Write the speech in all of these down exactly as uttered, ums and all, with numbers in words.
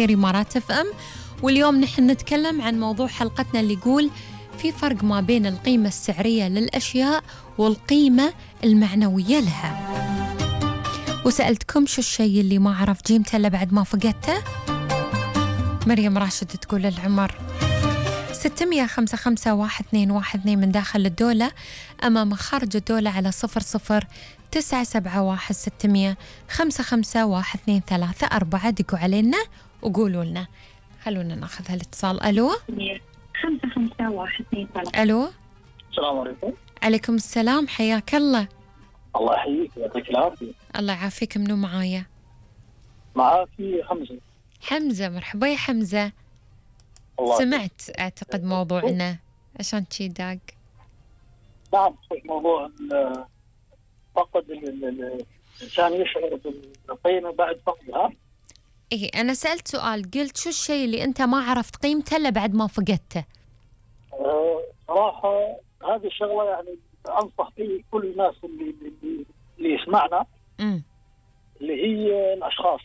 إمارات اف ام. واليوم نحن نتكلم عن موضوع حلقتنا اللي يقول في فرق ما بين القيمة السعرية للأشياء والقيمة المعنوية لها. وسألتكم شو الشيء اللي ما عرف قيمته إلا بعد ما فقدته؟ مريم راشد تقول العمر. ستمية خمسة خمسة واحد اثنين واحد اثنين من داخل الدولة أمام خارج الدولة على صفر صفر تسعة سبعة واحد ستمية خمسة خمسة واحد اثنين ثلاثة أربعة. دقوا علينا وقولوا لنا. خلونا ناخذ هالاتصال. ألو خمسة خمسة واحد اثنين ثلاثة. ألو السلام عليكم. عليكم السلام، حياك الله. الله يحييك ويعطيك العافية. الله يعافيك. منو معايا؟ معاكي حمزة. حمزة، مرحبا يا حمزة. الله سمعت أعتقد موضوعنا عشان شي داق. نعم، موضوع ال- فقد ال- ال- الإنسان يشعر بالقيمة بعد فقدها. إيه، أنا سألت سؤال، قلت شو الشيء اللي أنت ما عرفت قيمته إلا بعد ما فقدته؟ أه، صراحة هذه الشغلة يعني أنصح فيه كل الناس اللي اللي, اللي يسمعنا، امم اللي هي الأشخاص،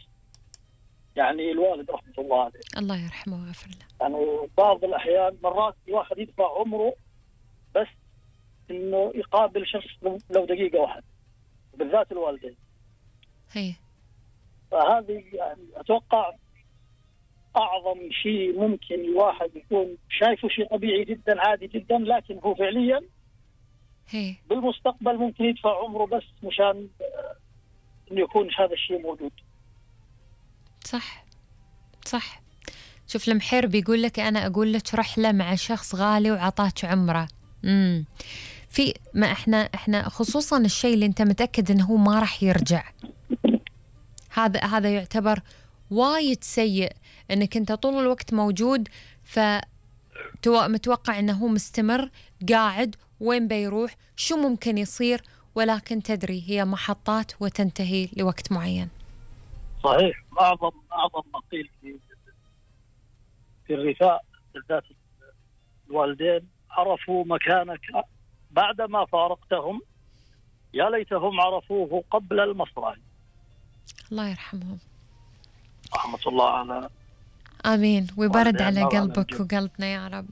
يعني الوالد رحمة الله عليه. الله يرحمه ويغفر له. يعني بعض الأحيان مرات الواحد يدفع عمره بس إنه يقابل شخص لو دقيقة واحدة، بالذات الوالدين. هي فهذه يعني أتوقع أعظم شيء ممكن الواحد يكون شايفه شيء طبيعي جدا عادي جدا، لكن هو فعليا هي بالمستقبل ممكن يدفع عمره بس مشان آه، إنه يكون هذا الشيء موجود. صح صح. شوف المحير بيقول لك أنا أقول لك رحلة مع شخص غالي وعطاك عمره. امم في ما احنا احنا خصوصا الشيء اللي انت متأكد انه هو ما راح يرجع، هذا هذا يعتبر وايد سيء، انك انت طول الوقت موجود فمتوقع انه هو مستمر قاعد، وين بيروح، شو ممكن يصير، ولكن تدري هي محطات وتنتهي لوقت معين. صحيح. أعظم أعظم ما قيل في في الرثاء بالذات الوالدين، عرفوا مكانك بعدما فارقتهم، يا ليتهم عرفوه قبل المصرع. الله يرحمهم. رحمة الله على آمين، ويبرد والدين على الله قلبك على وقلبنا يا رب.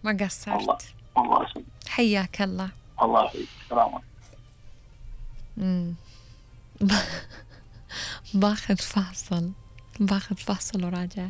ما الله. قصرت. الله يسلمك. حياك الله. الله يحييك. السلام عليكم. مم. باخذ فاصل باخذ فاصل وراجع.